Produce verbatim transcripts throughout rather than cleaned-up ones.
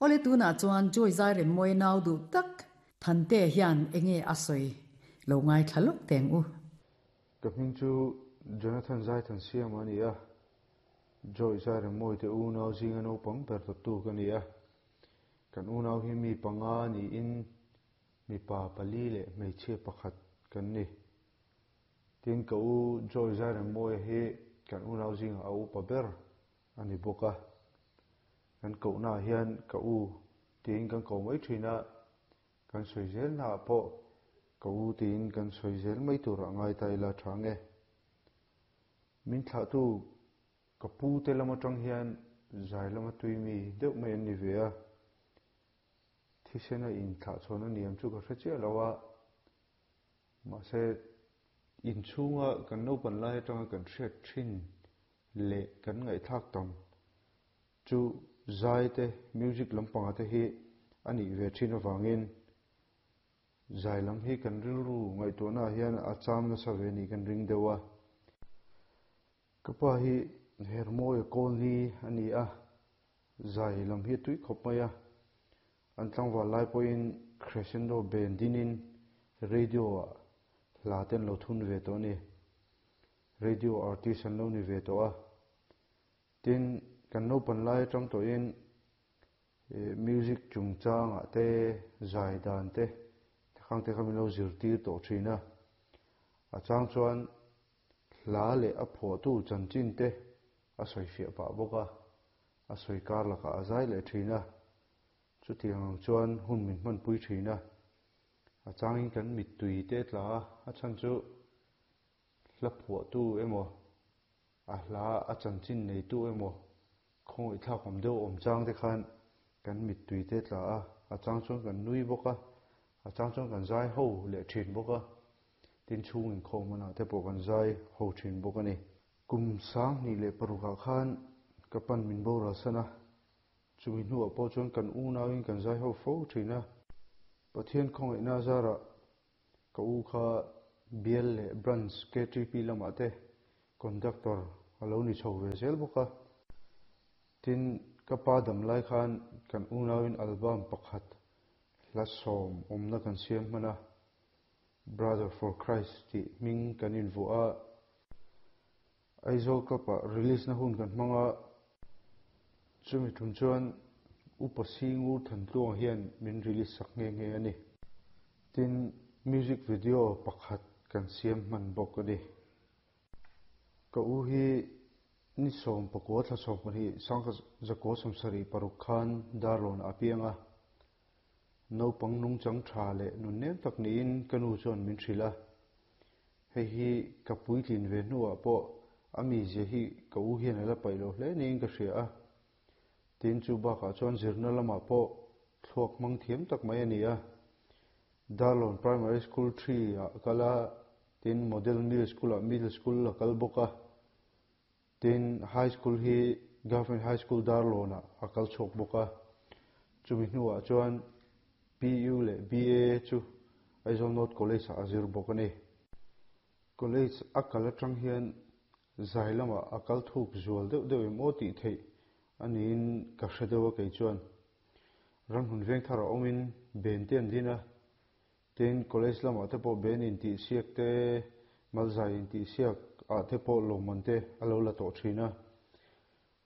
Awle tunah chuan Joy Zairemmawia nau duh tak Thantea hian enge a sawi lo ngaithla lawk teng u. Ka hming chu Jonathan Zaithansiama a ni a, Joy Zairemmawia te unau zinga naupang ber tawptu ka ni a. Kan unau hi mi panga niin mipa pali leh hmeichhia pakhat kan ni. Tin, ka u Joy Zairemmawia hi kan unau zingah a upa ber a ni bawk a. Kan kohnaah hian ka u tiin kan ko mai thin a, kan sawi zelnaah pawh ka u tiin kan sawi zel mai turah ngai ta ila tha nge. Min thlahtu ka pu te lam atang hian zai lama tui mi deuh mai an ni ve a, thisena inthlahchhawn a niam chu ka hre chiah lo a, mahse inchhunga kan naupan lai atanga kan hriat thin leh kan ngaihthlak tam chu zai te, music lampanga te hi a nih ve thin avangin zai lam hi kan rilru ngaihtuahnaah hian a cham nasa ve nih kan ring deuh a. Ka pa hi Hermawia Kawlni a ni a, zai lam hi a tui khawp mai a. An tlangval lai pawhin Crescendo band dinin radio-ah hla te an lo thun ve tawh a ni. Radio artist an lo ni ve tawh a. Tin, kan naupan lai atang tawhin music chungchangah te, zai dan te, khang te kha min lo zirtir tawh thin a. A chang chuan hla leh a phuahtu chanchin te a sawi fiah pah bawk a, a sawi kar lakah a zai leh thin a. Chutiang ang chuan hun min hmanpui thin a, a changin kan mittui te tla a, a chhan chu hla phuahtu emaw, a hla a chanchin neitu emaw khawngaihthlak awm deuh awm chang te khan kan mittui te tla a, a chang chuan kan nui bawk a, a chang chuan kan zai ho leh thin bawk a, tin chhung inkhawm hmanah te pawh kan zai ho thin bawk a ni. Kum sanghnih leh parukah khan ka pan min boral san a, chumi hnuah pawh chuan kan unauin kan zai ho fo thin a. Pathian khawngaihna zarah ka u kha bial leh branch K T P lamah te conductor a lo ni chho ve zel bawk a. Tin, ka pa dam lai khan kan unauin album pakhat hla sawm awmna kan siam hman a, Brother for Christ tih hming kan invuah a. Aizawl Club-ah release na hun kan hmang a, chumi tum chuan Upa Singur Thantluang hian min release sak nghe nghe a ni. Tin, music video pakhat kan siam hman bawk a ni. Ka u hi ni sawm pakua thla sawm pahnih sangkha zakua sawmsarih paruk khan Darlawn a piang a. Naupang nungchang tha leh nunnem tak niin ka nu chuan min hrilh a. Hei hi ka puitlin ve hnuah pawh a mizia hi ka u hian a la paih lo hle niin ka hria a. Tin, chu bakah chuan zirna lamah pawh thluak hmang thiam tak mai a ni a. Darlawn Primary School three ah kal a, tin Model Middle School ah Middle School a kal bawk a. Tin, High School hi Government High School Darlawn ah a kal chhuak bawk a. Chumi hnuah chuan P U leh B A chu Aizawl North College ah a zir bawk a ni. College a kal atang hian zai lamah a kal thuk zual deuh deuh em aw tih theih a niin ka hre deuh a kei chuan. Ramhmun veng thar a awmin ben te an din a, tin college lamah te pawh ben intihsiak te, malzai intihsiak ah te pawh lawmman te a lo la tawh thin a.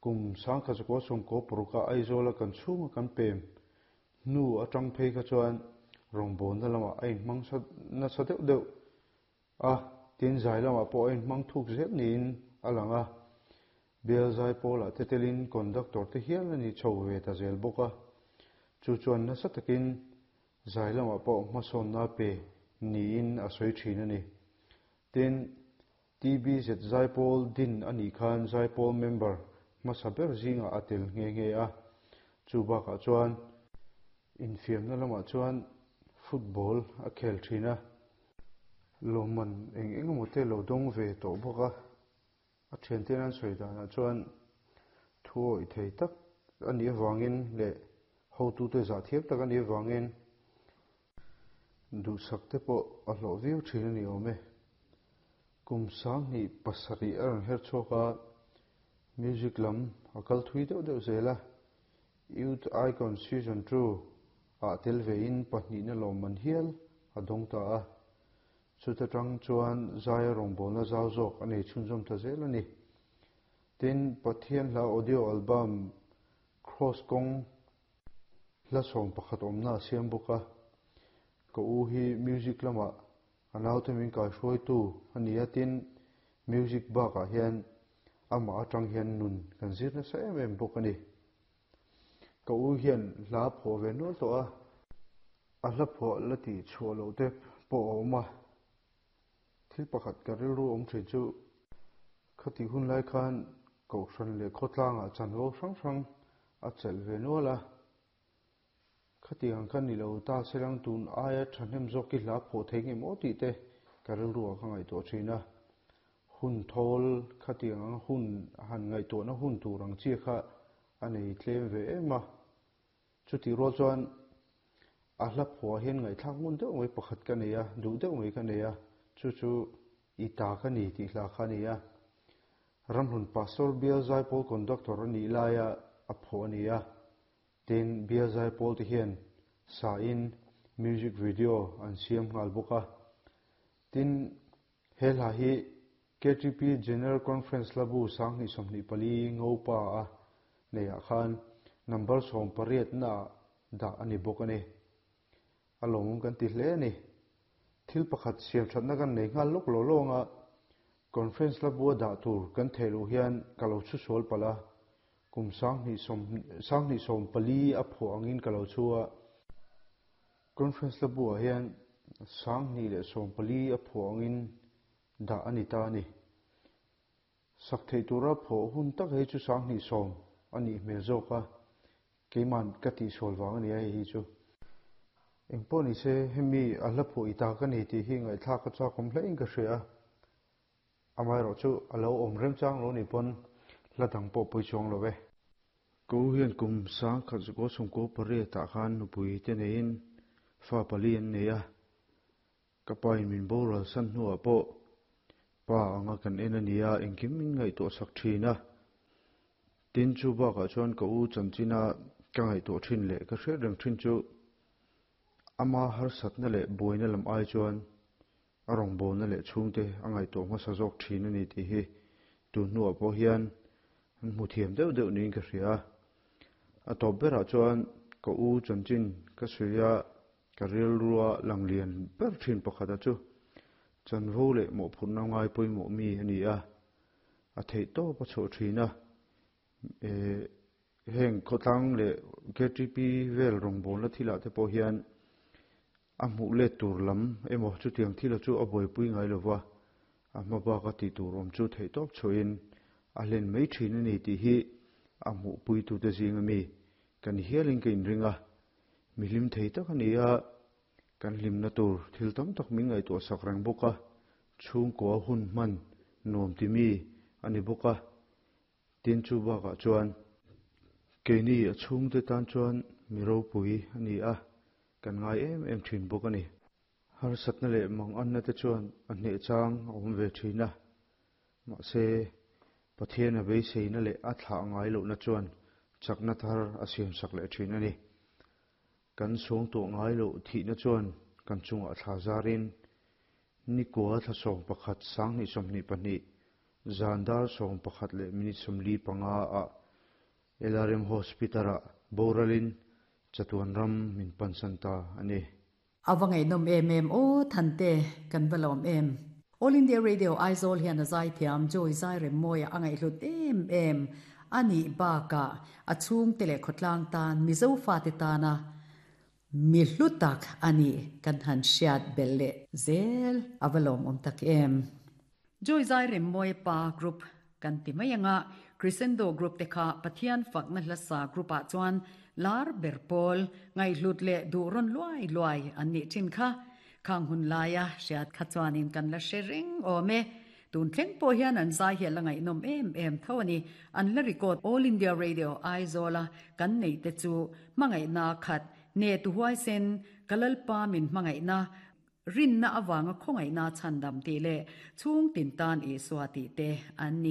Kum sangkha chakua sawmkaw paruk a Aizawl a kan chhunga kan pem hnu atang phei kha chuan rawngbawlna lamah a inhmang nasa deuh deuh a, tin zai lamah pawh a inhmang thuk zel niin a lang a. Bial zai pawlah te telin conductor te hial a ni chho ve ta zel bawk a. Chu chuan nasa takin zai lamah pawh hmasawnna pe niin a sawi thin a ni. Tin, T B Z zai pawl din a nih khan zai pawl member hmasa ber zingah a tel nghe nghe a. Chu bakah chuan infiamna lamah chuan football a khel thin a. Lawmman eng eng emaw te lo dawng ve tawh bawk a. A thianten an sawi danah chuan thu awih thei tak a nih avangin leh hotute zah thiam tak a nih avangin duhsak te pawh a hlawh viau thin a ni awm e. Kum sanghnih pasarih a rawn her chhuak a, music lam a kal thui deuh deuh zel a. Youth Icon Season two ah tel vein pahnihna lawmman hial a dawng ta a. Chuta tang chuan zaia rawngbawlna zau zawk a nei chhunzawm ta zel a ni. Tin, Pathian hla audio album Kraws Kawng hla sawm pakhat awmna a siam bawk a. Ka u hi music lamah a naute min kaihruaitu a ni a, tin, music bakah hian amah atang hian nun kan zir nasa em em bawk a ni. Ka u hian hla phuah ve nual tawh a, a hla phuah la tih chhuah loh te pawh a awm a. Thil pakhat ka rilru awm thin chu khatih hun lai khan Kohhran leh khawtlangah chanvo hrang hrang a chelh ve nual a. Khati ang kha ni lo ta selang tun aia thahnem zawk i hla phuah thei nge maw tih te ka rilru ah ka ngaihtuah thin a. Hun thawl khati ang hun han ngaihtuahna hun tur ang chi kha a nei tlem ve em a. Chutih rual chuan a hla phuah hian ngaihthlak ngun deuh mai pakhat ka nei a, duh deuh mai ka nei a, chu chu i ta ka ni tih hla kha a ni a. Ramhlun Pastor Bial Zaipawl Conductor a nih laia a phuah a ni a. Tin, Bial Zaipawl te hian sain music video an siam nghal bawk a. Tin, he hla hi KTP General Conference hlabu sanghnih sawmhnih pali Ngopa a neiah khan number sawm pariatna ah dah a ni bawk a ni. A lawmawm kan ti hle a ni. Thil pakhat siam thatna kan nei nghal lawk lo lawng a, Conference hlabua dah tur kan theih loh hian ka lo chhu sual palh a, kum sanghnih sawm sanghnih sawm pali a phuah angin ka lo chhu a. Conference hlabuah hian sanghnih leh sawm pali a phuah angin dah a ni ta a ni. Sak theih tura phuah hun tak hei chu sanghnih sawm a nih hmel zawk a, keiman ka tihsual vang a ni a hei hi chu. Engpawh ni se hemi a hla phuah i ta ka ni tih hi ngaihthlak a chakawm hlein ka hria a, amaherawh chu a lo awm remchang lo ni pawn hla dang pawh pawi chuang lo e. Ka u hian kum sangkhat zukua chhungkaw pariat ah khan nupui te neiin fa pali an nei a, ka pa in min boral san hnuah pawh pa anga kan en a nia engkim min ngaihtuah sak thin a. Tin chu bakah chuan ka u chanchina ka ngaihtuah thin leh ka hriat reng thin chu ama harsatna leh buaina lam ai chuan a rawngbawlna leh chhungte a ngaihtuah hmasa zawk thin a ni tih hi tun hnuah pawh hian an hmu thiam deuh deuh niin ka hria a. A tawp berah chuan ka u chanchin ka sawi a, ka rilrua lang lian ber thin pakhata chu chanvo leh mawhphurhna ngai pawimawh mi a ni a, a theih tawp a chhuah thin a. Heng khawtlang leh KTP vel rawngbawlna thilah te pawh hian a hmuh let tur lam emaw chutiang thila chu a buaipui ngai lova, a hma baka tih tur awm chu theih tawp chhuahin a hlen mai thin a ni tih hi a hmuhpuitute zinga mi kan hialin ka inring a. Mi hlim thei tak a ni a, kan hlimna tur thil tam tak min ngaihtuah sak reng bawk a, chhungkua hun hman nuam ti mi a ni bawk a. Tin chu bakah chuan keini a chhungte tan chuan mi ropui a ni a, kan ngai em em thin bawk a ni. Harsatna leh manganna te chuan a hneh chang a awm ve thin a, mahse Pathian a beiseina leh a thlah ngai lohna chuan chakna thar a siamsak leh thin a ni. Kan suangtuah ngai loh thihna chuan kan chungah thla zarin nikua thla sawm pakhat sanghnih sawmhnih pahnih zan dar sawm pakhat leh minute sawmli panga ah LRM Hospital-ah boralin chatuan ram min pansan ta a ni. A va ngaihnawm em em aw Thante, kan va lawm em. All India Radio Aizawl hian a zaithiam Joy Zairemmawia a ngaihhlut em em a nih bakah a chhungte leh khawtlang tan Mizo fate tana mi hlu tak a nih kan han hriat belh leh zel a va lawmawm tak em. Joy Zairemmawia pa group kan ti mai anga Crescendo group te kha Pathian fakna hlasa group ah chuan lar ber pawl ngaihhlut leh duh rawn luai luai an nih thin kha. Khang hun laia hriat kha chuanin kan la hre reng awm e. Tun thleng pawh hian an zai hi a la ngaihnawm em em tho a ni. An la record All India Radio Aizawl a kan neih te chu hmangaihna khat ne tu huaisen ka Lalpa min hmangaihna rinna avanga khawngaihna chhandam tih leh chhung tin tan Isua tih te an ni.